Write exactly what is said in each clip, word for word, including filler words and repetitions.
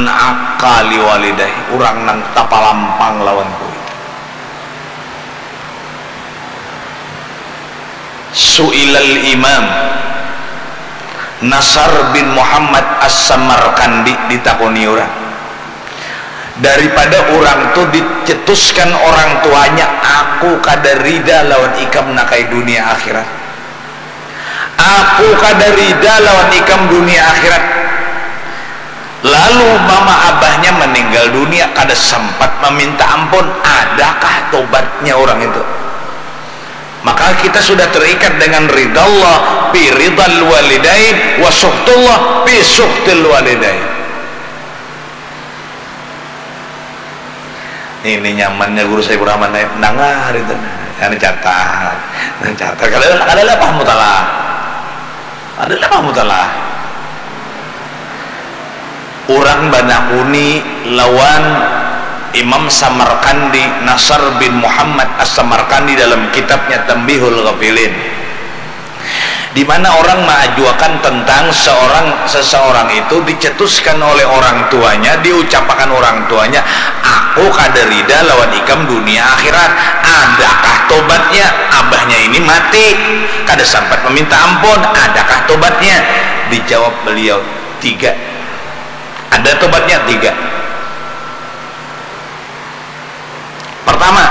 Aqqa liwalidayh, urang nang tapalampang lawan kuitan. Su'ilal Imam Nasar bin Muhammad As-Samarqandi ditakuni urang, daripada urang tu dicetuskan orang tuanya, "Aku kada rida lawan ikam nakai dunia akhirat. Aku kada rida lawan ikam dunia akhirat." Lalu mama abahnya meninggal dunia, kada sempat meminta ampun. Adakah tobatnya orang itu? Maka kita sudah terikat dengan ridha Allah fi ridhal walidain wa suhtullah fi suhtil walidain. Ini nyamannya guru Saifur Rahman Naib, nangar itu. Anu catat, anu catat. Kada, kada lah paham mutalah. Kada lah paham mutalah. Urang banakuni lawan Imam Samarkandi, Nasar bin Muhammad As-Samarkandi, dalam kitabnya Tambihul Ghafilin, di mana orang maajuakan tentang seorang, seseorang itu dicetuskan oleh orang tuanya, diucapakan orang tuanya, "Aku kada rida lawan ikam dunia akhirat." Adakah tobatnya? Abahnya ini mati, kada sempat meminta ampun. Adakah tobatnya? Dijawab beliau, "Tiga." Ada tobatnya tiga. Pertama,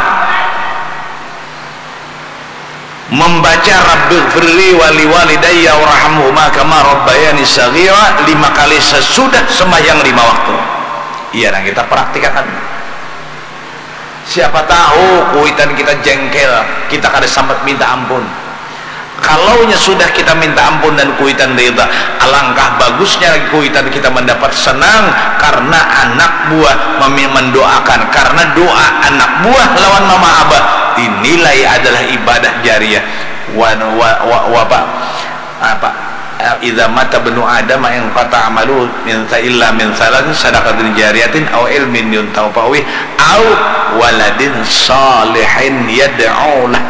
membaca Rabbighfirli wali walidayya warhamhuma kama rabbayani saghira lima kali sesudah sembahyang lima waktu. Iya, nah, kita praktikakan. Siapa tahu kuitan kita jengkel, kita kada sempat minta ampun. Kalaunya sudah kita minta ampun dan kuitan rida, alangkah bagusnya lagi kuitan kita mendapat senang karena anak buah memi-, mendoakan, karena doa anak buah lawan mama abah dinilai adalah ibadah jariah. Wa, wa, wa, wa, apa? Apa? Idza mata ibnu Adam inqata amalu min sa-, illa min salasin sadaqatin jariyatin au ilmin yuntafa'u bih au waladin shalihin yad'u lah.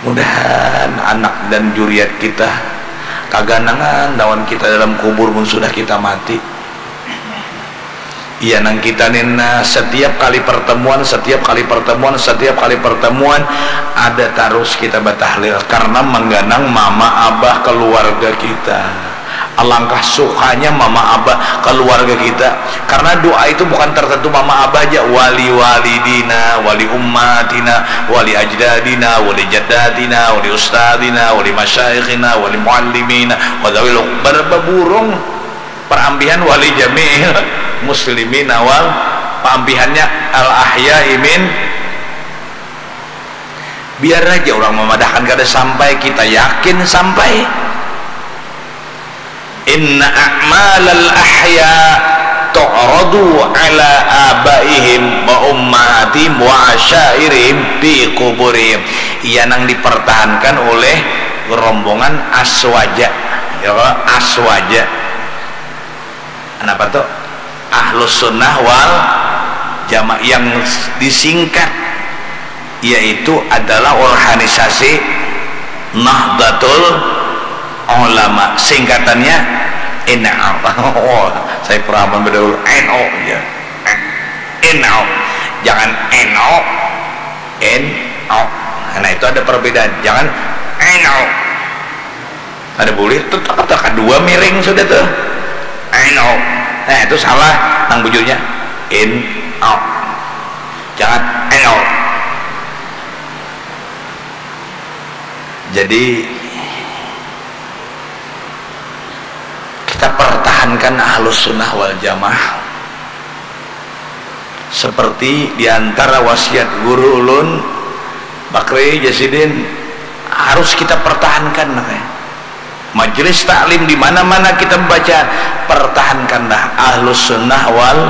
Mudahan anak dan juriat kita kaganangan lawan kita dalam kubur mun sudah kita mati. Iya, nang kita ni, nah, setiap kali pertemuan, setiap kali pertemuan, setiap kali pertemuan, ada tarus kita batahlil karena mengganang mama abah keluarga kita. Alangkah sukanya mama abah keluarga kita, karena doa itu bukan tertentu mama abah aja, wali walidina, wali ummatina, wali ajdadina, wali jaddatina, wali ustadina, wali masyaikhina, wali muallimina, wa dzawil ber-, beburung parambihan wali jami'il muslimina wal, paambihannya al ahya'i min. Biar aja orang memadahkan kada sampai, kita yakin sampai. Inna a'malal ahya tu'radu ala abaihim wa ummahatihim wa asyairihim fi kuburihim. Iya nang dipertahankan oleh rombongan aswaja. Ya, aswaja. Kenapa tuh? Ahlus sunnah wal jamaah yang disingkat yaitu adalah organisasi Nahdlatul Ulama, singkatannya N U. Oh, saya peraman berdahulu N U ya. N U. Jangan N O, N U. Nah, itu ada perbedaan. Jangan N U. Ada boleh tuh, tak, tak kedua miring sudah tuh. N U. Nah, itu salah nang bujurnya. N U. Jangan N U. Jadi kita pertahankan ahlus sunnah wal jamaah seperti diantara wasiat guru ulun, Bakri Jasidin, harus kita pertahankan, nah, ya. Majelis taklim di mana-mana kita membaca, pertahankanlah ahlus sunnah wal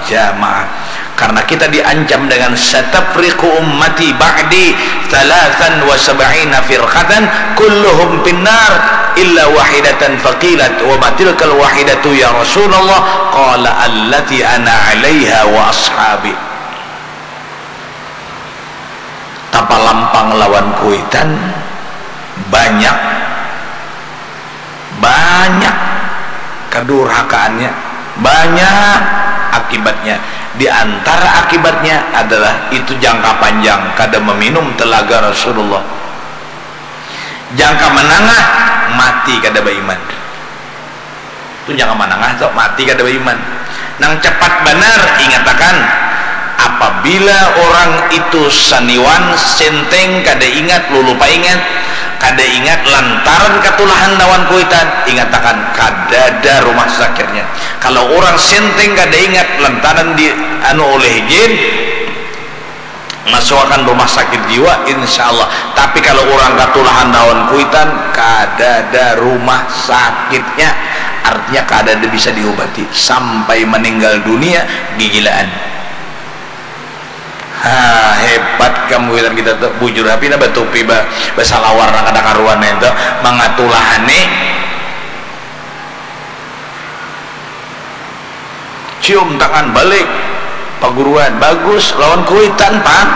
jamaah. Karena kita diancam dengan satafriqu ummati ba'di thalathan wa sab'ina firqatan kulluhum finnar illa wahidatan faqilat wa ma tilkal wahidatu ya Rasulullah qala allati ana alaiha wa ashabi. Tapalampang lawan kuitan banyak, banyak Kedurhakaannya banyak akibatnya. Di antara akibatnya adalah itu jangka panjang kada meminum telaga Rasulullah. Jangka menengah mati kada beriman. Itu jangka menengah tu mati kada beriman. Nang cepat banar, ingatakan, apabila orang itu saniwan, senteng, kada ingat, lulupa ingat, kada ingat lantaran katulahan lawan kuitan, ingatakan, kadada rumah sakitnya. Kalau orang senteng kada ingat lantaran di anu oleh jin, masuakan rumah sakit jiwa, insya Allah. Tapi kalau orang katulahan lawan kuitan, kadada rumah sakitnya. Artinya kadada bisa diubati sampai meninggal dunia gigilaan. Ha, hebat kamu wilan kita tu. Bujur, tapi na batupi ba, basalawar nang kada karuan itu mangatulahani. Cium tangan balik, paguruan bagus lawan kuitan, Pak.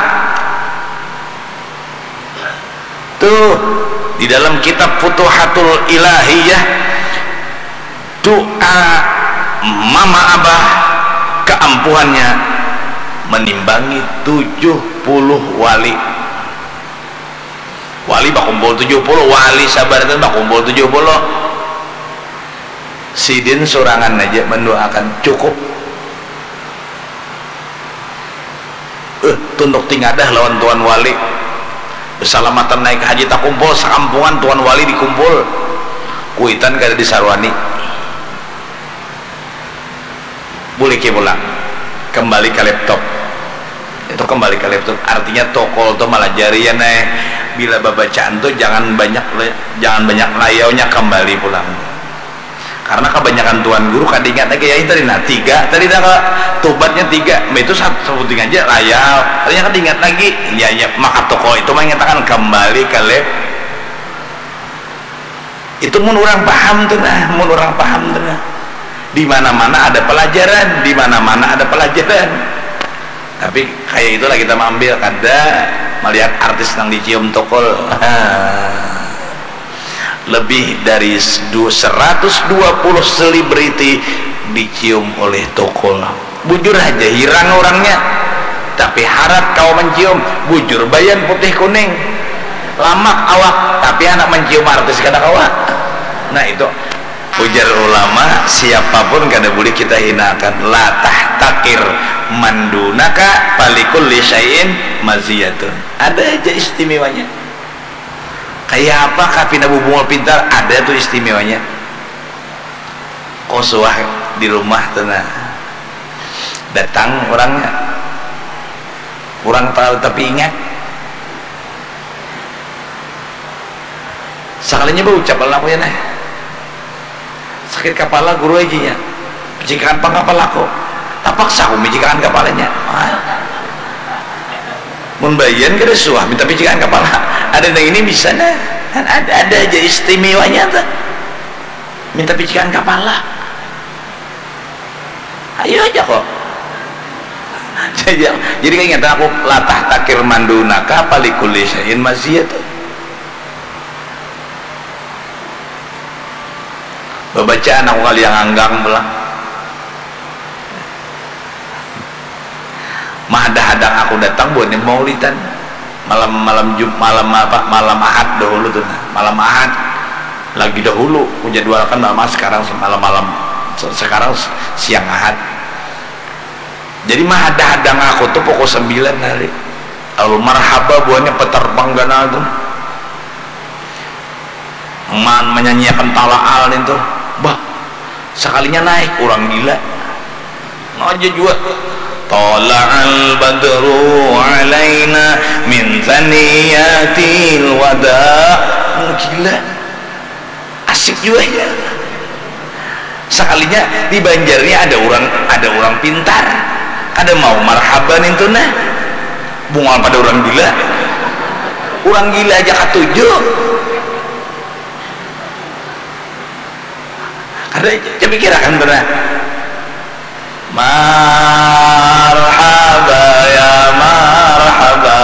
Tuh, di dalam kitab Futuhatul Ilahiyah, doa mama abah keampuhannya menimbangi tujuh puluh wali. Wali bakumpul tujuh puluh, wali sabar itu bakumpul tujuh puluh. Sidin surangan aja mendoakan, cukup. Eh, tunduk tingadah lawan Tuan Wali. Besalamatan naik haji takumpul, sakampungan Tuan Wali dikumpul. Kuitan kada disarwani. Buliki pulang. Kembali ke laptop. Itu kembali ke laptop. Artinya tokol tu malajari ya, Nay. Bila babacaan tu jangan banyak le-, jangan banyak layaunya, kembali pulang. Karena kebanyakan tuan guru kada ingat lagi, ya, tadi nah tiga, tadi dah ka-, tubatnya tiga, itu satu sebuting aja layau, tadi kada ingat lagi, ya, ya, maka tokol itu mengatakan kembali ke lab. Itu mun orang paham tu nah, mun orang paham tu nah. Di mana-mana ada pelajaran, di mana-mana ada pelajaran. Tapi kayak itulah kita mengambil, kada melihat artis nang dicium tokol. Lebih dari s-, du-, seratus dua puluh selebriti dicium oleh tokol. Bujur aja hirang orangnya. Tapi harat kawa mencium, bujur bayan putih kuning. Lamak awak, tapi anak mencium artis kada kawa. Nah, itu. Ujar ulama, siapapun kada boleh kita hinakan. La tahtakir mandunaka falikulli syai'in maziyatun. Ada aja istimewanya. Kayak apa kah pina bubungul pintar, ada tuh istimewanya. Kosuah di rumah tuh nah. Datang orangnya. Orang tahu tapi ingat. Sakalinya baucap lah namanya nah. Sakit kapala guru aja nya. Pijikakan pang kapalaku. Tapaksa aku mijikakan kapalanya. Wah. Mun bayan kada suah minta pijikakan kapala. Ada nang ini bisa nah. Kan ada, ada aja istimewanya tuh. Minta pijikakan kapala. Ayo aja kok. Jadi, jadi kayak ingat aku, la tahtakir mandunaka falikulli syai'in maziyatun. Babacaan aku kali yang anggang pulang. Mahadang-hadang aku datang buhannya maulidan. Malam, malam Jum-, malam apa, malam Ahad dahulu tuh nah. Malam Ahad lagi dahulu, kujadwalkan malam Ahad sekarang, malam-malam se-, sekarang s-, siang Ahad. Jadi mahadang-hadang aku tuh pukul sembilan hari. Lalu marhaba buhannya peterbang ganal tuh. Man menyanyiakan talaal itu. Bah, sekalinya naik orang gila. Aja jua. Tala'al badru alaina min thaniyatil wada. Gila. Asik jua ya. Sekalinya di Banjarnya ada orang, ada orang pintar. Kada mau marhaban itu nah. Bungal pada orang gila. Orang gila aja katuju. Kada, coba pikirakan tu nah. Marhaba ya marhaba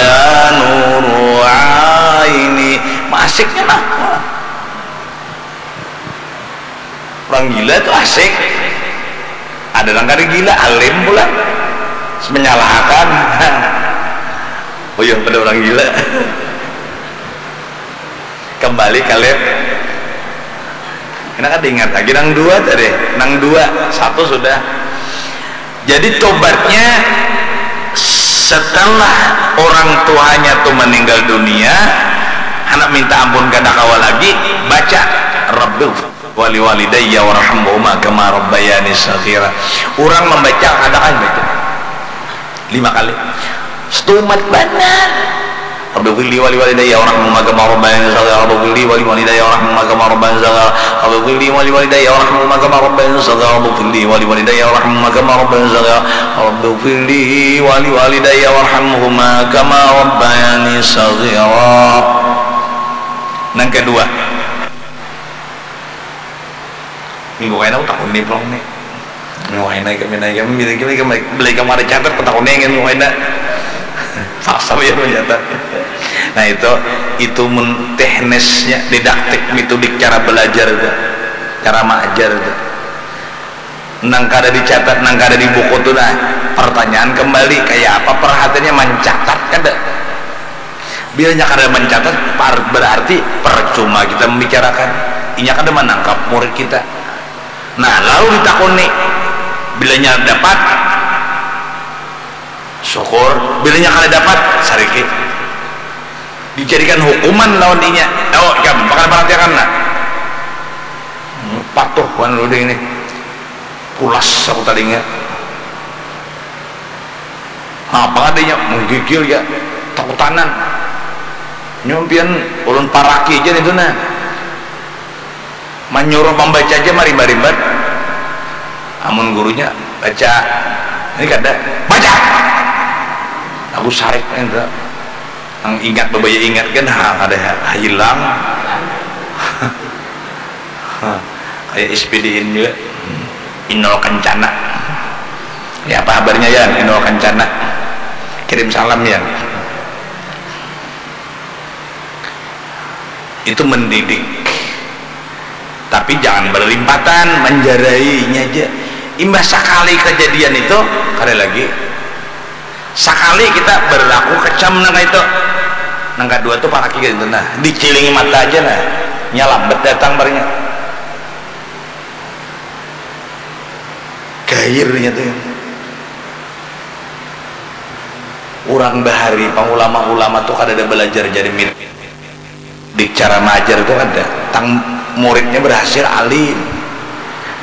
ya nuru aini. Masiknya nah. Orang gila tu asik. Ada nang kada gila, alim pulang. Menyalahkan. Uyuh pada orang gila. Kembali ka lift. Kena kada ingat lagi nang dua tadi. Nang dua, satu sudah. Jadi tobatnya setelah orang tuanya tu meninggal dunia, anak minta ampun kada kawa lagi, baca Rabbi wali walidayya warhamhuma kama rabbayani saghira. Orang membaca kada kan baca lima kali. Setumat banar. Rabbi firli wali walidayya warhamhuma kama rabbayani saghira. Rabbi firli wali walidayya warhamhuma kama rabbayani saghira. Rabbi firli wali walidayya warhamhuma kama rabbayani saghira. Rabbi firli wali walidayya warhamhuma kama rabbayani saghira. Rabbi firli wali walidayya warhamhuma kama rabbayani saghira. Nang kedua, minggu kaina aku takuni pulang nih. Minggu kaina kami naik kami bila kami kami beli kamu ada catat aku takuni kan minggu kaina. Paksa ya mencatat. Nah itu itu mun teknisnya didaktik metodik cara belajar itu, cara mengajar itu. Nang kada dicatat, nang kada di buku tu nah. Pertanyaan kembali, kayak apa perhatiannya mencatat kada? Bilanya kada mencatat, par- berarti percuma kita membicarakan. Inya kada menangkap murid kita. Nah, lalu ditakuni, bilanya dapat, syukur, bilanya kada dapat, sariki. Dijadikan hukuman lawan inya. Oh, ikam, bakal perhatiakan nah. Patuh wan lu ini. Pulas aku tadinya. Apa adanya menggigil ya, takutanan. Nyompian ulun paraki aja itu nah. Manyuruh membaca aja marimba-rimbat. Amun gurunya baca, ini kada baca. Aku sarik itu. Nang ingat bebaya ingat kan ha, ada ha, hilang. Kayak S P D-in juga. Inul Kencana. Ya apa kabarnya ya Inul Kencana? Kirim salam ya. Itu mendidik. Tapi jangan berlimpatan, menjarainya aja. Imbah sekali kejadian itu, kada lagi. Sakali kita berlaku kecam nang itu, nang kedua tu paraki gitu nah, dicilingi mata aja nah, nya lambat datang barnya. Gairnya tu ya. Urang bahari pang ulama-ulama tu kadada belajar jadi milik. Di cara maajar tu kada tang muridnya berhasil alim.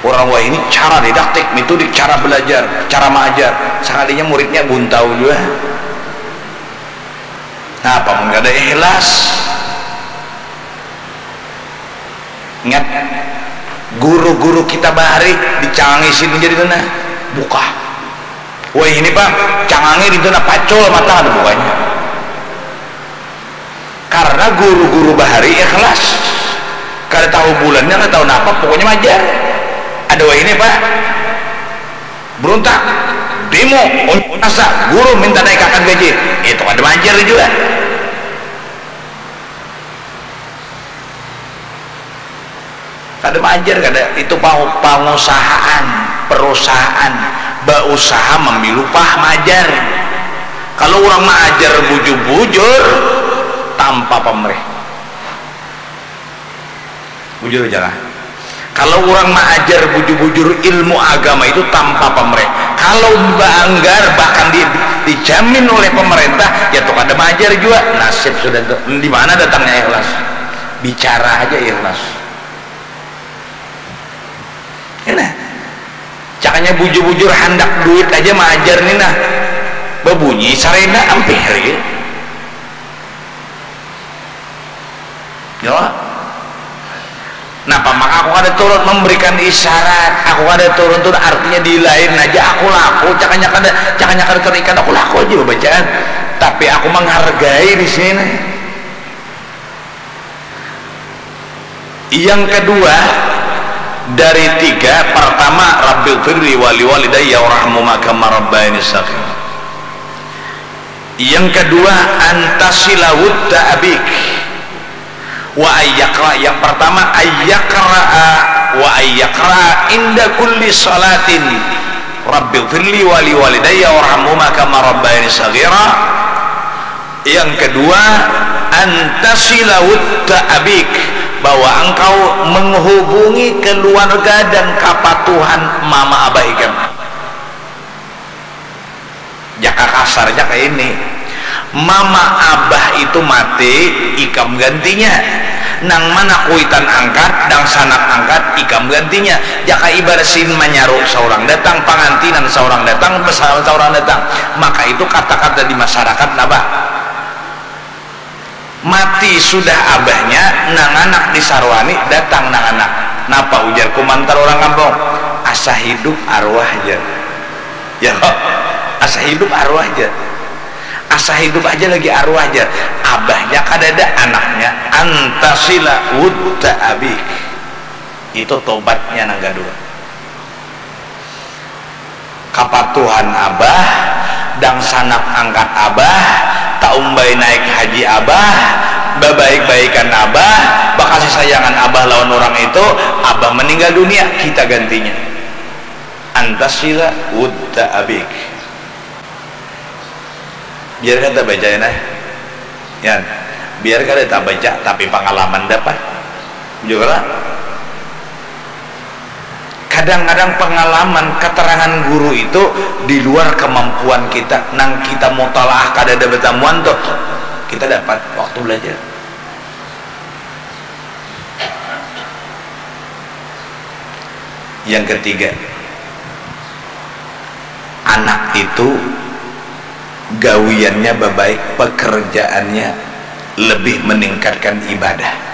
Orang wahini cara didaktik, metodik cara belajar, cara maajar. Sakalinya muridnya buntau jua. Nah, apa mun kada ikhlas? Ingat, guru-guru kita bahari dicangangi sidin jadi tu nah, bukah. Wahini pang cangangi di tu nah, pacul mata kada bukanya. Karena guru-guru bahari ikhlas, kada tahu bulannya, kada tahu napa, pokoknya majar. Ada wahini apa? Beruntak, demo, unjuk rasa, guru minta naikakan gaji, itu kada majar juga. Kada maajar kada, itu pangu- pangusahaan, perusahaan, bausaha mambil upah maajar. Kalau urang maajar bujur-bujur tanpa pamrih, bujur aja lah. Kalau urang maajar bujur-bujur ilmu agama itu tanpa pamrih, kalau baanggar bahkan di, dijamin oleh pemerintah, ya tu kada maajar jua, nasib sudah tu. Di mana datangnya ikhlas? Bicara aja ikhlas. Ini caknya bujur-bujur handak duit aja maajar ni nah, babunyi sarenda ampih lagi. Ya. Napa maka aku kada turun memberikan isyarat? Aku kada turun tu artinya di lain aja aku laku, cakanya kada, cakanya kada terikat, aku laku aja bacaan. Tapi aku menghargai di sini. Yang kedua dari tiga, pertama Rabbi firli wali walidayya warhamhuma kama rabbayani saghira. Yang kedua, antasila wudda abik. Wa ayyakra, yang pertama ayyakra wa Ayyakra inda kulli salatin, Rabbi firli wali walidayya warhamhuma kama rabbayani saghira. Yang kedua, antasila wudda abik, bahwa engkau menghubungi keluarga dan kapatuhan mama abah ikam. Jaka kasar jaka ini, mama abah itu mati, ikam gantinya. Nang mana kuitan angkat, dangsanak angkat, ikam gantinya. Jaka ibar sin manyaru saurang datang, pangantinan saurang datang, besalam saurang datang. Maka itu kata-kata di masyarakat napa? Mati sudah abahnya, nanganak disarwani, datang nanganak. Napa ujar kumantar urang kampung? Asa hidup arwah jar. Ya, asa hidup arwah jar. Asa hidup aja lagi arwah jar. Abahnya kadada, anaknya antasila wudda abik. Itu tobatnya nang kedua. Kapatuhan abah, dangsanak angkat abah, taumbai naik haji abah, babaik-baikan abah, bakasih sayangan abah lawan urang itu, abah meninggal dunia, kita gantinya. Antasila wudda abik. Biar kada baca ya nah. Yan, biar kada tabaca tapi pangalaman dapat. Juga lah. Kadang-kadang pengalaman, keterangan guru itu di luar kemampuan kita. Nang kita mutalaah kada ada batamuan tuh, kita dapat waktu belajar. Yang ketiga, anak itu gawiannya babaik, pekerjaannya lebih meningkatkan ibadah.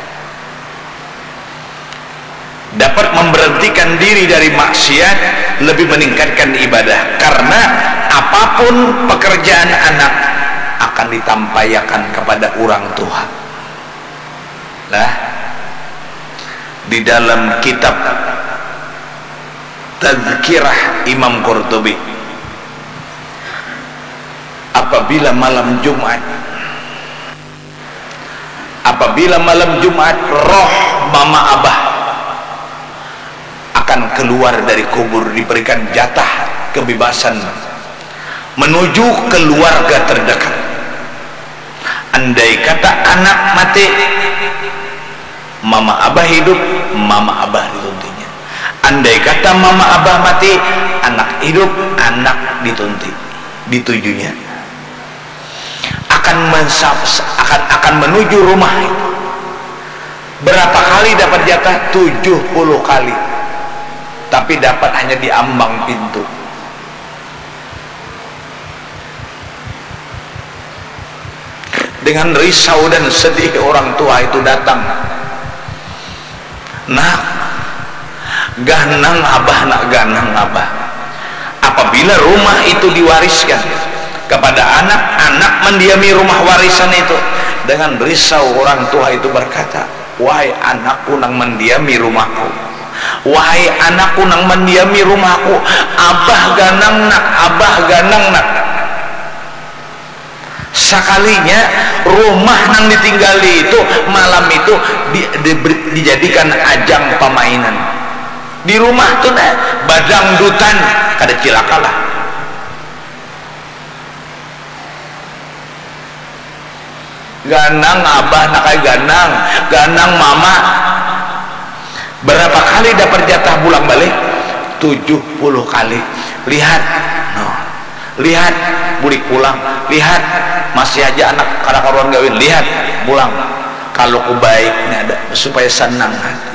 Dapat memberhentikan diri dari maksiat, lebih meningkatkan ibadah. Karena apapun pekerjaan anak akan ditampaiakan kepada orang tua. Nah, di dalam kitab Tazkirah Imam Qurtubi, apabila malam Jumat, apabila malam Jumat roh mama abah akan keluar dari kubur, diberikan jatah kebebasan menuju keluarga terdekat. Andai kata anak mati, mama abah hidup, mama abah dituntinya. Andai kata mama abah mati, anak hidup, anak ditunti, ditujunya. Akan mensa-, akan, akan menuju rumah itu. Berapa kali dapat jatah? Tujuh puluh kali. Tapi dapat hanya di ambang pintu. Dengan risau dan sedih orang tua itu datang. Nak, ganang abah, nak, ganang abah. Apabila rumah itu diwariskan kepada anak, anak mendiami rumah warisan itu. Dengan risau orang tua itu berkata, "Wahai anakku nang mendiami rumahku, wahai anakku nang mendiami rumahku, abah ganang, nak, abah ganang, nak." Sakalinya rumah nang ditinggali itu malam itu di, di, dijadikan ajang pamainan. Di rumah tu nah badangdutan, kada cilaka lah. Ganang abah, nak ai ganang, ganang mama. Berapa kali dapat jatah bulang balik? Tujuh puluh kali. Lihat, no. Lihat, bulik pulang. Lihat, masih aja anak kada karuan gawin. Lihat, pulang. Kalau ku baik ini ada supaya senang hati.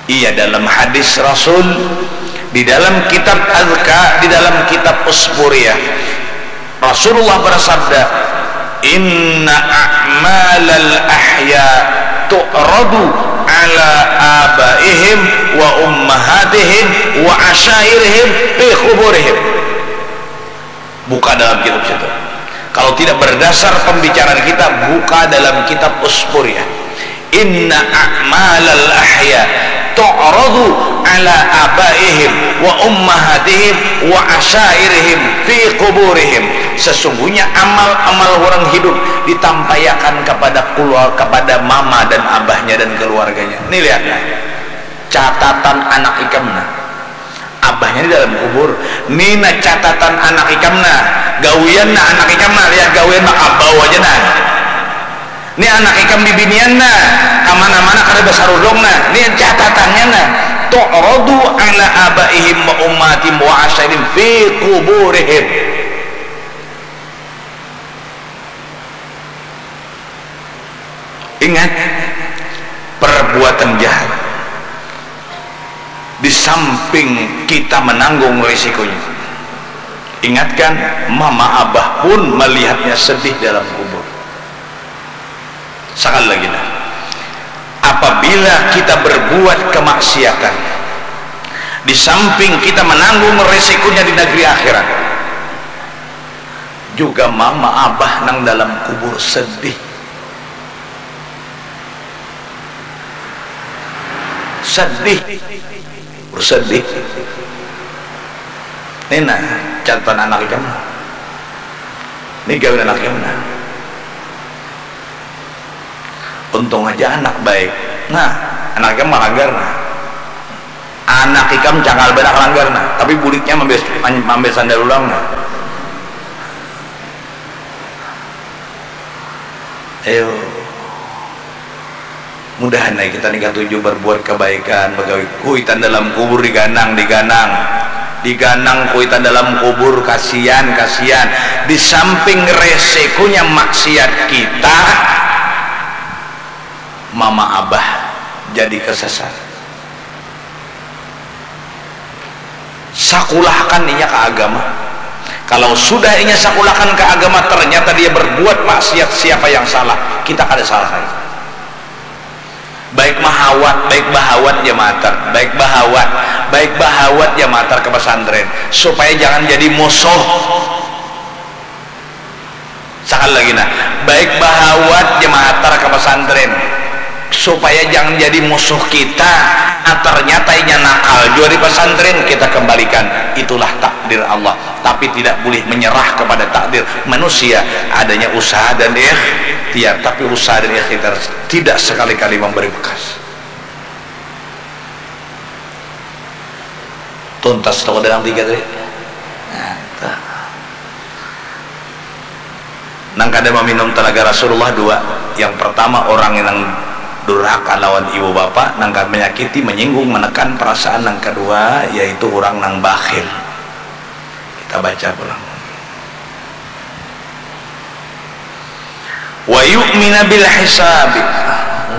Iya, dalam hadis Rasul, di dalam kitab Azka, di dalam kitab Usburiyah, Rasulullah bersabda, "Inna a'malal ahya tu'radu ala abaihim wa ummahatihim wa asyairihim fi kuburihim." Buka dalam kitab situ. Kalau tidak berdasar pembicaraan kita, buka dalam kitab Usburiyah. "Inna a'malal ahya tu'radu ala abaihim wa ummahatihim wa asyairihim fi kuburihim." Sesungguhnya amal-amal orang hidup ditampaiakan kepada keluar, kepada mama dan abahnya dan keluarganya. Ini lihat, nah. Catatan anak ikam nah. Abahnya di dalam kubur. Ni nah catatan anak ikam nah. Gawian nah anak ikam nah. Lihat gawian bakabau aja nah. Ni anak ikam bibinian nah. Kamana-mana kada basarudung nah. Ni catatannya nah. Tu'radu ala abaihim wa ummahatihim wa asyairihim fi kuburihim. Ingat, perbuatan jahat di samping kita menanggung risikonya. Ingatkan, mama abah pun melihatnya sedih dalam kubur. Sekali lagi nah, apabila kita berbuat kemaksiatan, di samping kita menanggung risikonya di negeri akhirat, juga mama abah nang dalam kubur sedih. Sedih. Sedih. Ni nah, catatan anak ikam. Ni gawian anak ikam nah. Untung aja anak baik. Nah, anak ikam malanggar nah. Anak ikam cangkal banar langgar nah, tapi buliknya mambe, mambe sandal ulang nah. Ayo. Mudahan ai kita ni katuju berbuat kebaikan, bagawi kuitan dalam kubur diganang, diganang, diganang kuitan dalam kubur, kasian, kasian. Di samping resikonya maksiat kita, mama abah jadi kesasar. Sakulahkan inya ka agama. Kalau sudah inya sakulahkan ka agama, ternyata dia berbuat maksiat, siapa yang salah? Kita kada salah lagi. Baik mahawat, baik bahawat jamaah tar, baik bahawat, baik bahawat jamaah tar ke pesantren, supaya jangan jadi musuh. Sakali lagi nah, baik bahawat jamaah tar ka pasantren supaya jangan jadi musuh kita. Nah, ternyata inya nakal jua di pasantren, kita kembalikan, itulah takdir Allah. Tapi tidak boleh menyerah kepada takdir manusia, adanya usaha dan ikhtiar, tapi usaha dan ikhtiar tidak sekali-kali memberi bekas. Tuntas toko dalam tiga tadi. Nah, tuh. Nang kada maminum talaga Rasulullah dua. Yang pertama orang nang durhaka lawan ibu bapa, nang kada menyakiti, menyinggung, menekan perasaan. Nang kedua yaitu orang nang bakhil. Kita baca pulang. Wa yu'mina bil hisabi.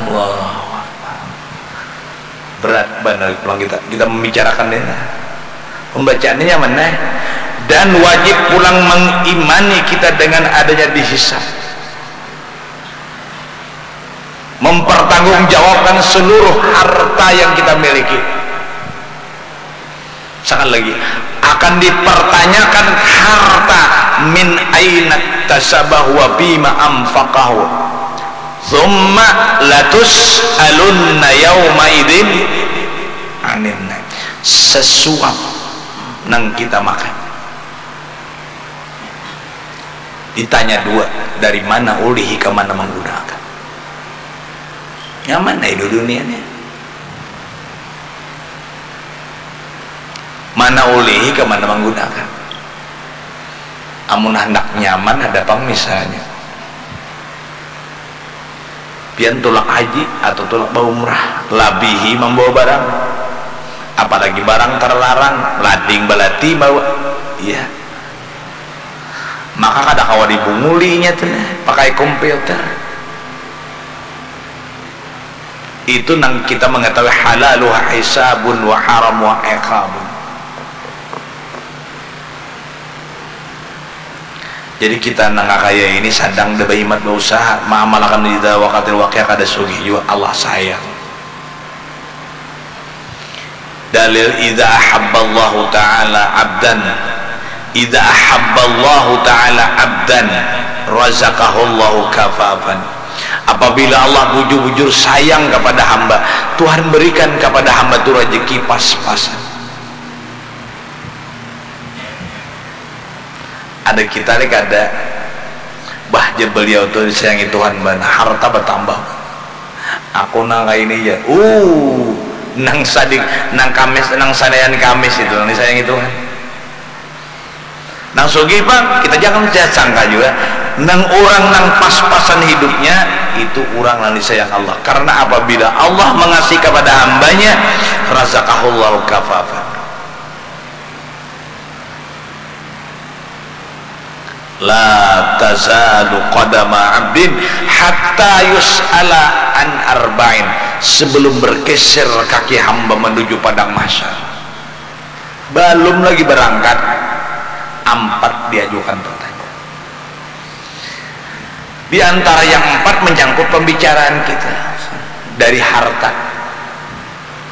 Allahu Akbar. Berat banar pulang kita, kita membicarakan ini. Pembacaannya nyaman, eh. Dan wajib pulang mengimani kita dengan adanya dihisab. Mempertanggungjawabkan seluruh harta yang kita miliki. Sekali lagi, akan dipertanyakan harta, min aina tasabah wa bima anfaqahu. Tsumma latus'alunna yauma idzin anin naim. Sesuap nang kita makan. Ditanya dua, dari mana ulihi ka mana menggunakan. Nyaman ai dua dunia ni. Mana ulihi ka mana manggunakan. Amun handak nyaman ada pang misalnya. Pian tulak haji atau tulak baumrah, labihi mambawa barang. Apalagi barang terlarang, lading balati bawa. Iya. Maka kada kawa dibunguli inya tu nah, pakai komputer. Itu nang kita mengetahui halaluha hisabun wa haramuha iqabun. Jadi kita nang kakaya ini sadang da bahimat bausaha maamalakan idza waqatil waqiah kada sugih jua, Allah sayang. Dalil, idza ahabballahu ta'ala abdan, idza ahabballahu ta'ala abdan razaqahullahu kafafan. Apabila Allah bujur-bujur sayang kepada hamba, Tuhan berikan kepada hamba tu rezeki pas-pasan. Ada kita ni kada. Bah, jar beliau tu disayangi Tuhan banar, harta batambah. Aku nang kaini jar. Uh, Nang sadik, nang kamis, nang sanayan kamis itu, nang disayang itu kan. Nang sugih pang, kita jangan sangka juga. Nang urang nang pas-pasan hidupnya, itu urang nang disayang Allah. Karena apabila Allah mengasihi kepada hambanya, razaqahullahu kafafan. La tazalu qadama abdin hatta yus'ala an arba'in. Sebelum bergeser kaki hamba menuju padang mahsyar, belum lagi berangkat, ampat diajukan pertanyaan. Di antara yang empat menyangkut pembicaraan kita. Dari harta,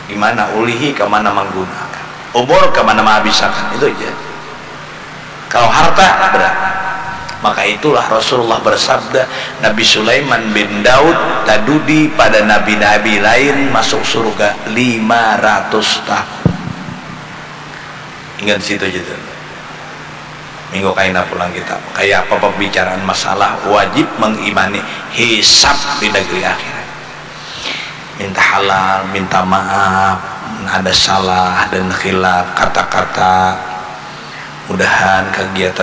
di mana ulihi, ke mana menggunakan, umur, ke mana menghabisakan, itu aja. Kalau harta, berat. Maka itulah Rasulullah bersabda, Nabi Sulaiman bin Daud tadudi pada nabi-nabi lain masuk surga lima ratus tahun. Ingat situ aja tuh. Minggu kaina pulang kita. Kayak apa pembicaraan masalah wajib mengimani hisab di negeri akhirat. Minta halal, minta maaf, ada salah dan khilaf, kata-kata. Mudahan kegiatan